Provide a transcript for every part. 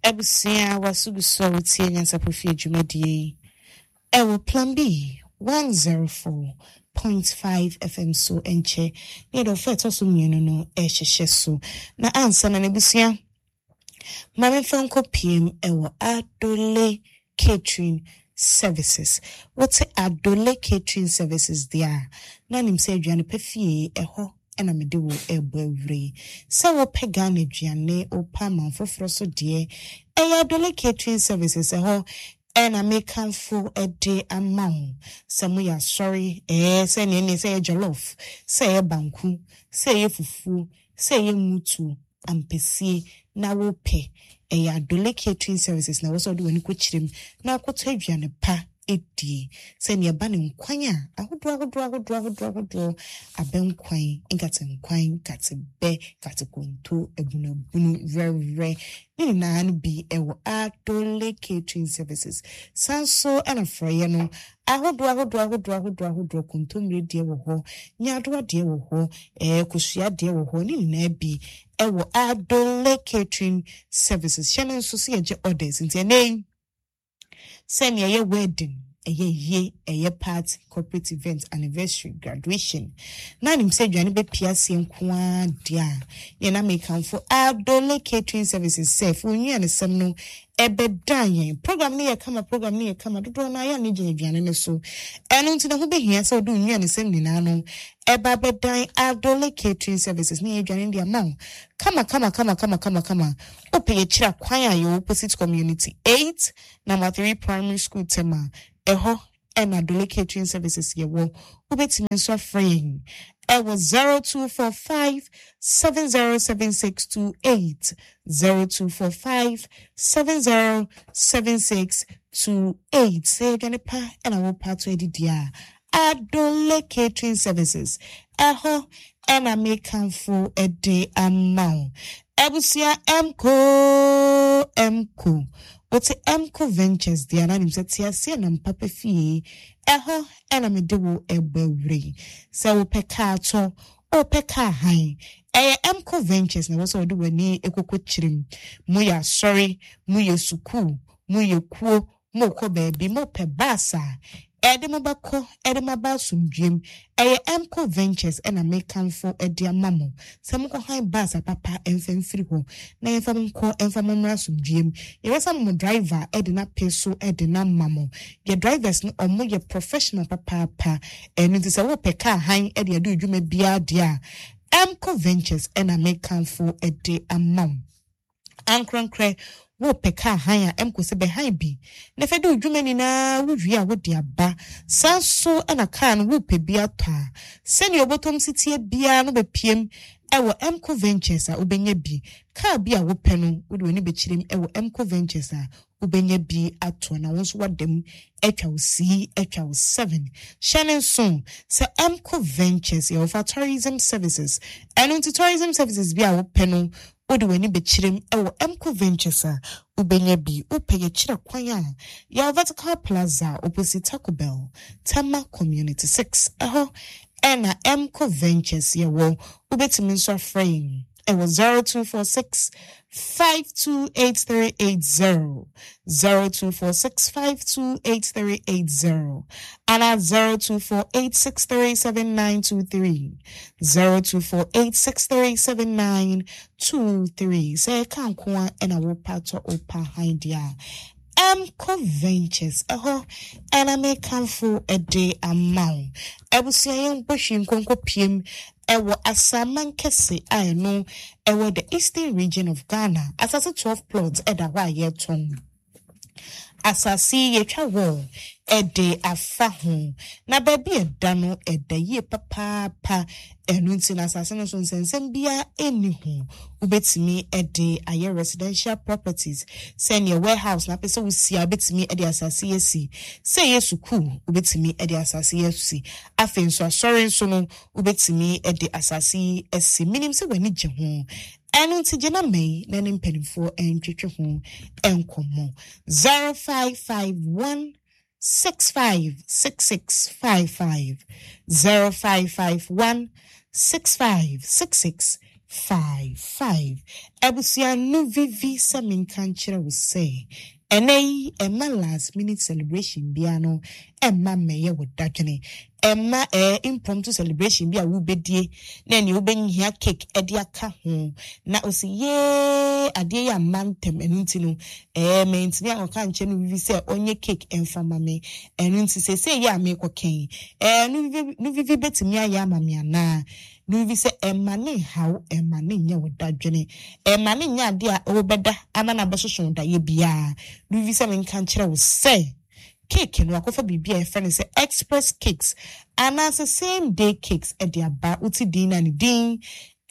Abusua w'aso gu so a wotie Nyansapɔ Fie dwumadie yi ɛwɔ Plan B 104.5 FM so nkyɛ ne yɛde ɔfa ɛtɔ so mmienu no ɛrehyehyɛ so. Na ansa na n'abusua ma memfa nkɔ piem ɛwɔ Adole Catering Services. Wote Adole Catering Services deɛ a, na nim sɛ aduane pa fie ɛhɔ na mede wo rebɔ awura yi. Sɛ wopɛ Ghana aduane, wopɛ aman foforɔ so deɛ, ɛyɛ Adole Catering Services ɛhɔ ɛna mekamfo de ama wo. Sɛ moyɛ asɔre, ɛɛ sɛ neɛ neɛ sɛ ɛyɛ jollof, sɛ ɛyɛ banku, sɛ ɛyɛ fufuo, sɛ ɛyɛ mutuo, ampesie na wopɛ, ɛyɛ Adole Catering Services na ɛwɔ sɛ wode w'ani kɔkyerɛ mu na wokɔtɔ aduane pa die. Sɛnea ɛba no nkwan a, ahodoɔ ahodoɔ ahodoɔ ahodoɔ ahodoɔ, abɛnkwan, nkatenkwan, nkatebɛ, nkatekonto, abunabunu, werɛwerɛ, ne nyinaa no bi wɔ Adole Catering Services. San so na frɔeɛ no, ahodoɔ ahodoɔ ahodoɔ ahodoɔ ahodoɔ, kontommire deɛ wɔ hɔ, nyaadoa deɛ wɔ hɔ, ɛɛ kosua deɛ wɔ hɔ, ne nyinaa bi wɔ Adole Catering Services. Hyɛ no nso sɛ yɛgye orders nti ɛnɛ yi, Sɛnea ɛyɛ wedding, ɛyɛ ayie, ɛyɛ party, corporate event, anniversary, graduation, na nim sɛ aduane bɛpia aseɛ nko ara deɛ a, yɛn na mekamfo Adole Catering Services sɛ fo nnuanesɛm no ɛbɛdan yɛn. Program no yɛ kama, program no yɛ kama, dodoɔ no ara yɛ a ne gyina aduane no so. Ɛno nti na ho bɛhia sɛ wode wo nnuanesɛm nyinaa no ɛba bɛdan Adole Catering Services ne yɛn aduane no de ama wo kama kama kama kama kama kama. Wopɛ yɛkyira kwan a yɛwɔ opposite community 8 number 3 primary school Tema, ɛhɔ ɛna Adole Catering Services yɛwɔ. Wobɛtumi nso afrɛ yɛn ɛwɔ 0245 707628, 0245 707628. Sɛ aduane pa ɛna wopɛ ato adidi a, Adole Catering Services ɛhɔ ɛna mekamfo de ama wo. Abusua Emco Emco wote Emco Ventures deɛ na nim sɛ te aseɛ nam papa fie ɛhɔ ɛna mede wo ɛbɔ awura yi. Sɛ wopɛ kaa tɔ, wopɛ kaa han, ɛyɛ Emco Ventures na ɛwɔ sɛ wode w'ani kɔkɔ kyerɛ mu. Moyɛ asɔre, moyɛ sukuu, moyɛ kuo, Morekɔ baabi, mopɛ bus a ɛde mo bɛkɔ de mo aba asomdwoeɛ mu. Ɛyɛ Emco Ventures na mekamfo de ama mo sɛ monkɔhan bus apapa mfa mfiri hɔ na yɛmfa mo nkɔ mfa mo mmra asomdwoeɛ mu. Yɛbɛsa mo driver de no ape so de no ama mo. Yɛ drivers no wɔyɛ professional papaapa. Ɛno nti sɛ wopɛ car han de adi wo dwuma biara deɛ a, Emco Ventures na mekamfo de ama wo. Ankorankorɛ, worepɛ kaa hann a, ɛmko sɛ bɛhan bi na fa di wo dwuma nyinaa, wowie a wode aba. Saa nso na kaa no worepɛ bi atɔ a, sɛdeɛ ɔbɔtɔm si teɛ biara no bɛpiam wɔ Ɛmko Ventures a wobɛnya bi. Kaa bi a wopɛ no, wode w'ani bɛkyerɛm wɔ Ɛmko Ventures a wobɛnya bi atɔ na wo nso woada mu atwa wo sii atwa wo seven. Hyɛ no nso sɛ Ɛmko Ventures yɛ wɔfa tourism services, ɛno nti tourism services bi a wopɛ no wode w'ani bɛkyerɛ mu wɔ Emco Ventures a, wobɛnya bi. Wopɛ yɛkyerɛ kwan a, yɛwɔ Vertical Plaza opposite Taco Bell, Tema Community 6. Ɛhɔ na Emco Ventures yɛwɔ. Wobɛtumi nso afrɛ yɛn wɔ 0246 528380, 0246 528380, anaa 0248 637923. 0248637923 Sɛ ɛka nko a ɛna wopa tɔ wopa han deɛ a, Ɛmco Ventures ɛhɔ ɛna mekamfo de ama wo. Abusua yɛn bɔ hwi nkonko piem ɛwɔ Asaman kɛse a ɛno ɛwɔ the Eastern Region of Ghana. Asase 12 plots ɛda hɔ a yɛtɔn. Asase yi yɛatwa wall de afa ho, na baabi a ɛda no, ɛda yie papaapa. Ɛno nti no, asase no so nsɛnsɛm biara nni ho. Wobɛtumi de ayɛ residential properties, sɛdeɛ warehouse na apɛ sɛ wosi a, wobɛtumi de asase yi asi. Sɛ ɛyɛ sukuu, wobɛtumi de asase yi asi. Afei nso, asɔre nso no, wobɛtumi de asase yi asi. Menim sɛ w'ani gye ho. Ɛno nti gye na ma yi na ne mpanimfoɔ ntwetwe ho nkɔmmɔ. 0551 656655 0551 656655. 55. Abusua no vivi sɛ menka nkyerɛ wo sɛ ɛnɛ yi ɛmma last minute celebration biara no ɛmma mmɛyɛ wo dadwene. Ɛmma ɛɛ impromptu celebration bi a wobɛdie na ɛneɛ wobɛhia cake ɛde aka ho na ɔsi yee adeɛ yi amma ntɛm ɛno nti no ɛɛ mantumi ankɔka nkyerɛ no vivi sɛ ɔnyɛ cake ɛmfa ma me ɛno nti seesei yi a merekɔkɛn ɛɛ no vivi no vivi bɛtumi ayɛ ama me anaa. No bi sɛ ɛmma no nhaw, ɛmma no nyɛ wo dadwene, ɛmma no nyɛ adeɛ a wobɛda ama no abɛsoso wo daeɛ biara. No bi sɛ menka nkyerɛ wo sɛ cake no wakɔfa biribi a yɛfrɛ no sɛ express cakes anaasɛ same day cakes de aba. Wote din no a ne din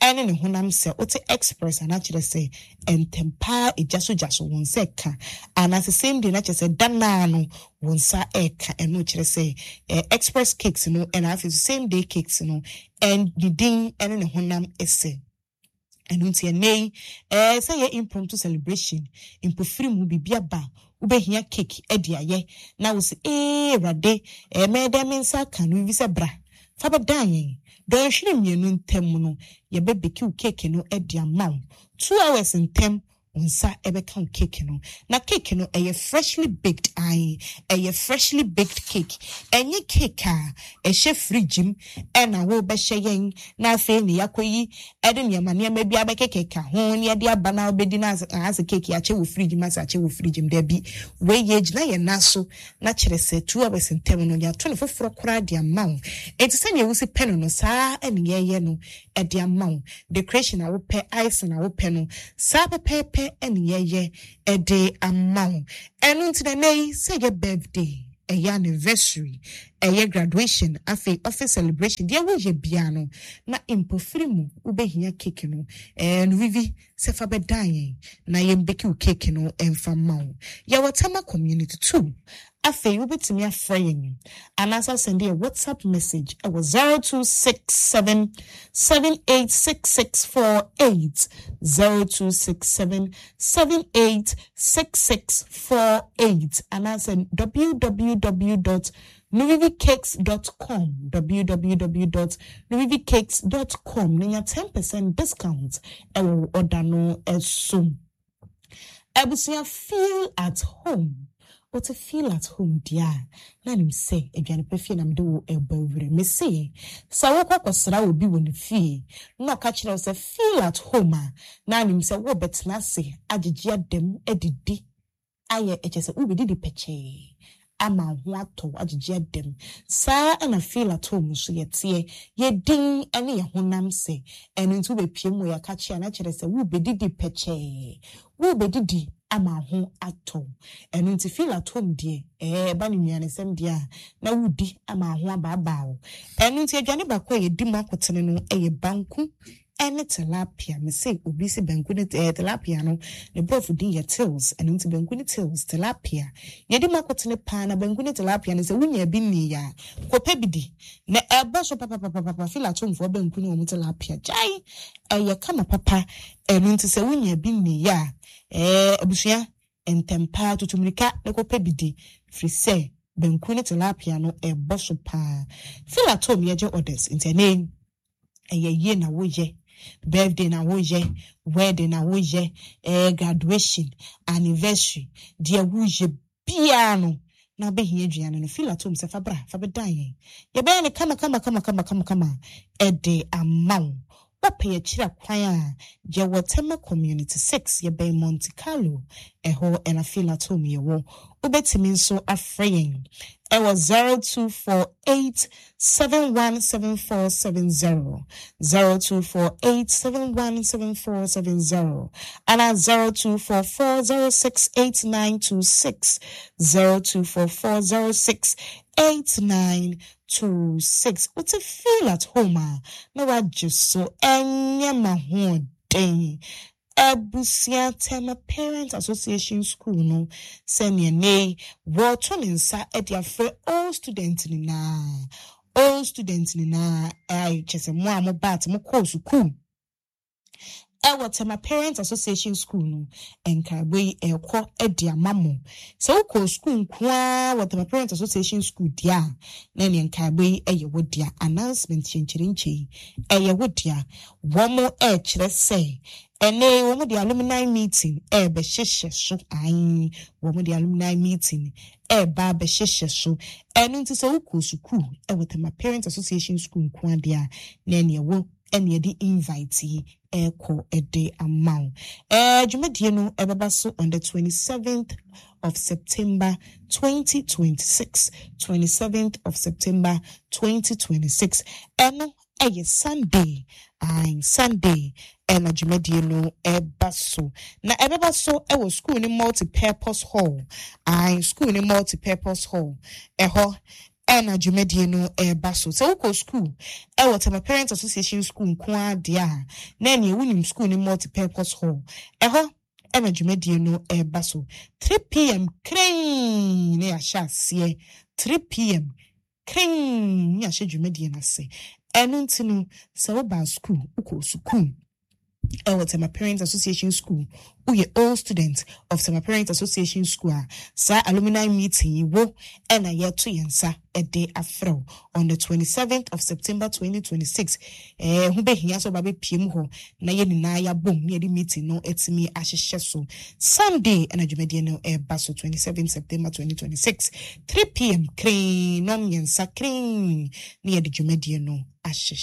ɛne ne honam sɛ wote express a na kyerɛ sɛ ntɛm paa egya so gya so wo nsa ɛka anaasɛ same day na kyerɛ sɛ da naa no wo nsa ɛka ɛno kyerɛ sɛ eh, express cakes no ɛna afei so same day cakes no ɛn ne din ɛne ne honam ɛsɛ ɛno nti ɛnɛ yi ɛɛ sɛ yɛ impromptu celebration mpofiri mu biribi aba wobɛhia cake ɛde ayɛ na wo sɛ ee awurade ɛɛ mɛyɛ dɛn me nsa aka no biribi sɛ bra fa bɛdan yɛn dɔnhwere mmienu ntam no yɛbɛbeki wo cake no ɛde ama wo 2 hours ntam wo nsa ɛbɛka wo cake no. Na cake no ɛyɛ freshly baked, ae, ɛyɛ freshly baked cake. Ɛnyɛ cake a ɛhyɛ fridge mu ɛna wobɛhyɛ yɛn na afei ne yɛakɔyi ɛde nneɛma nneɛma bi abɛkekeka ho ne yɛde aba na wobɛdi no asɛ cake yɛakyɛ wɔ fridge mu, asɛ akyɛ wɔ fridge mu. Dabi, wei yɛgyina yɛn nan so na kyerɛ sɛ 2 hours ntam no yɛato no foforɔ koraa de ama wo. Enti sɛnea wosi pɛ no no saa ɛne yɛyɛ no ɛde ama wo. Decoration a wopɛ, icing a wopɛ no, saa pɛpɛɛpɛ ɛne yɛyɛ ɛde ama wo. Ɛno nti na ɛnɛ yi sɛ ɛyɛ birthday, ɛyɛ anniversary, ɛyɛ graduation, afei office celebration, deɛ woyɛ biara no na mpofiri mu wobɛhia cake no, ɛɛ no vivi sɛ fa bɛdan yɛn na yɛmbeki wo cake no ɛmfa ma wo. Yɛwɔ Tema Community 2. Afei wobɛtumi afrɛ yɛn anaasɛ asɛnde yɛ WhatsApp message ɛwɔ 0267 786648, 0267 786648, anaasɛ www.nuvivicakes.com, www.nuvivicakes.com na nya 10% discount ɛwɔ wo order no ɛso. Abusua, feel at home. Wote feel at home deɛ a, na nim sɛ aduane pɛ fie na mede wo ɛbɔ awura. Mese sɛ wokɔ kɔsra obi wɔ ne fie na ɔka kyerɛ wo sɛ feel at home a, na nim sɛ wobɛtena ase agyegye adam adidi ayɛ ɛkyɛ sɛ wobɛdidi pɛkyɛɛ ama wo ho atɔ wo agyegye adam. Saa ɛna feel at home nso yɛteɛ. Yɛdin ne yɛ honam sɛ ɛno nti wobɛpie mu wɔ yɛaka a na kyerɛ sɛ wobɛdidi pɛkyɛɛ, wobɛdidi ama wo ho atɔ wo. Ɛno nti feel at home deɛ, ɛɛ ɛba ne nnuanesɛm deɛ a na wodi ama wo ho abaabaa wo. Ɛno nti aduane baako a yɛdi mu akotene no ɛyɛ banku ɛne tilapia. Mese obi sɛ banku ne tilapia no ne borɔfo din yɛ tills. Ɛno nti banku ne tills, tilapia yɛdi mu akotene paa. Na banku ne tilapia no, sɛ wonya bi nni a, kɔpɛ bi di na ɛbɔ so papapapapa. Feel at home foɔ banku ne wɔn tilapia gyae ɛyɛ kama papa. Ɛno nti sɛ wonya bi nni a, abusua, ntɛm paa tutu mmirika na kɔpɛ bi di, firi sɛ banku ne tilapia no ɛbɔ so paa. Feel at home yɛgye orders nti ɛnɛ ɛyɛ yie na woyɛ birthday na woyɛ wedding na woyɛ graduation, anniversary, deɛ woyɛ biara no na wobɛhia aduane no, feel at home sɛ fa bra fa bɛdan yɛn, yɛbɛyɛ no kama kama kama kama kama kama ɛde ama wo. Wopɛ yɛkyerɛ kwan a, yɛwɔ Tema Community 6, yɛbɛn Monte Carlo, ɛhɔ ɛna feel at home yɛwɔ. Wobɛtumi nso afrɛ yɛn ɛwɔ 0248 717470, 0248 717470, ana 0244 068926, 0244 068926. Wote feel at home a na wagye so ɛnyɛ ma hoɔden. Abusua, Tema Parent Association School no, sɛnea ne wɔto ne nsa de afrɛ all student nyinaa, all student nyinaa, ɛyɛ kyɛ sɛ mo a mo baate mo kɔɔ sukuu. Ɛwɔ Tema Parents Association School no, nkaebɔ yi ɛrekɔ de ama mo. Sɛ wokɔɔ sukuu nko ara wɔ Tema Parents Association School deɛ a, na ɛneɛ nkaebɔ yi yɛ wo dea. Announcement kyɛnkyerɛnkyɛ yi, ɛyɛ wo dea. Wɔn ɛrekyerɛ sɛ ɛnnɛ yi wɔn de alumni meeting ɛrebɛhyehyɛ so. Ae, wɔn de alumni meeting ɛreba abɛhyehyɛ so. Ɛno nti sɛ wokɔɔ sukuu wɔ Tema Parents Association School nko ara deɛ a, na ɛneɛ wo ɛna yɛde invite yi ɛrekɔ de ama wo. Ɛɛ dwumadie no ɛbɛba so on the 27th of September 2026. 27th of September 2026. Ɛno ɛyɛ Sunday. Ae, Sunday ɛna dwumadie no ɛba so. Na ɛbɛba so ɛwɔ school ne multi-purpose hall. Ae, school ne multi-purpose hall. Ɛhɔ ɛna dwumadie no ɛreba so. Sɛ wokɔ school ɛwɔ Tema Parents Association School nko ara deɛ a, na ɛneɛ wonim school ne multi-purpose hall. Ɛhɔ ɛna dwumadie no ɛreba so. 3 p.m. Kren na yɛahyɛ aseɛ. 3 p.m. Kren na yɛahyɛ dwumadie no ase. Ɛno nti no, sɛ woba school, wokɔ sukuu ɛwɔ Tema Parents Association School, woyɛ old student of Tema Parents Association School a, saa alumni meeting yi wo ɛna yɛto yɛn nsa ɛde afrɛ wo on the 27th of September 2026. Ɛɛ ho bɛhia sɛ ɔba bɛpie mu hɔ na yɛn nyinaa yɛabom na yɛde meeting no atumi ahyehyɛ so. Sunday ɛna dwumadie no ɛreba so, 27 September 2026, 3 p.m. kren, nɔm mmiɛnsa kren na yɛde dwumadie no ahyehyɛ.